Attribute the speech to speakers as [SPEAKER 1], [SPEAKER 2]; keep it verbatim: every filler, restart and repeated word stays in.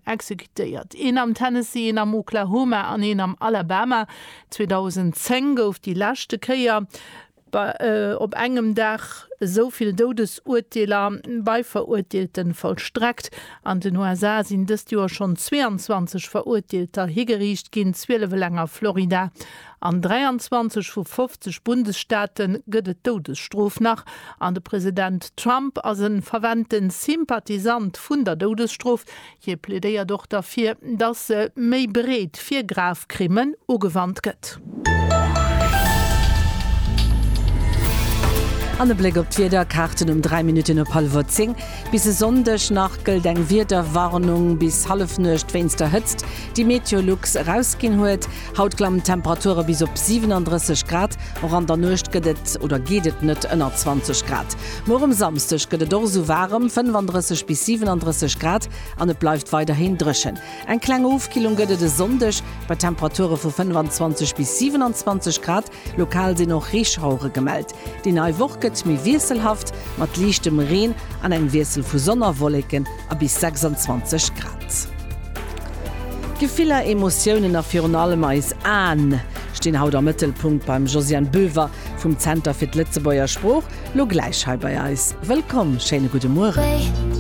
[SPEAKER 1] exekutéiert, een am Tennessee, een am Oklahoma an een am Alabama. zweedausendzéng gouf déi leschte Kéier op engem Dag esou vill Doudesurteeler bei Verurteelte vollstreckt. An den U S A sinn dëst Joer schonn zweeanzwanzeg Verurteelter higeriicht ginn, zwielef eleng a Florida. An dräianzwanzeg vu fofzeg Bundesstaate gëtt et d'Doudesstrof nach. An de President Trump ass e fervente Sympathisant vun der Doudesstrof. Hie plädéiert och derfir, datt se méi breet fir grav Crimmen ugewannt gëtt.
[SPEAKER 2] An e Bléck op d'Wiederkaarten um dräi Minutten op hallwer zéng. Bis e Sonndeg nach gëllt eng Wiederwarnung bis Hallefnuecht wéinst der Hëtzt, déi Meteolux erausginn huet. Haut klammen d'Temperature bis op siwenandrësseg Grad, och an der Nuecht gëtt et oder geet et net ënner zwanzeg Grad. Muer um Samsdeg gëtt et och esou waarem, fënnefandrësseg bis siwenandrësseg Grad, an et bleift weiderhin dréchen. Eng kleng Ofkillung gëtt et e Sonndeg bei Temperature vu fënnefanzwanzeg bis siwenanzwanzeg Grad, lokal sinn och Reeschauere gemellt. Déi nei Woch gëtt méi wiesselhaft mat liichtem Reen an engem Wiessel vu Sonn a Wolleken a bis sechsanzwanzeg Grad. Gefiller, Emotiounen a virun allem eis Aen stinn haut am Mëttelpunkt beim Josiane Boever vum Zenter fir d'Lëtzebuerger Sprooch, lo gläich hei bei eis. Wëllkomm, schéine gudde Mueren.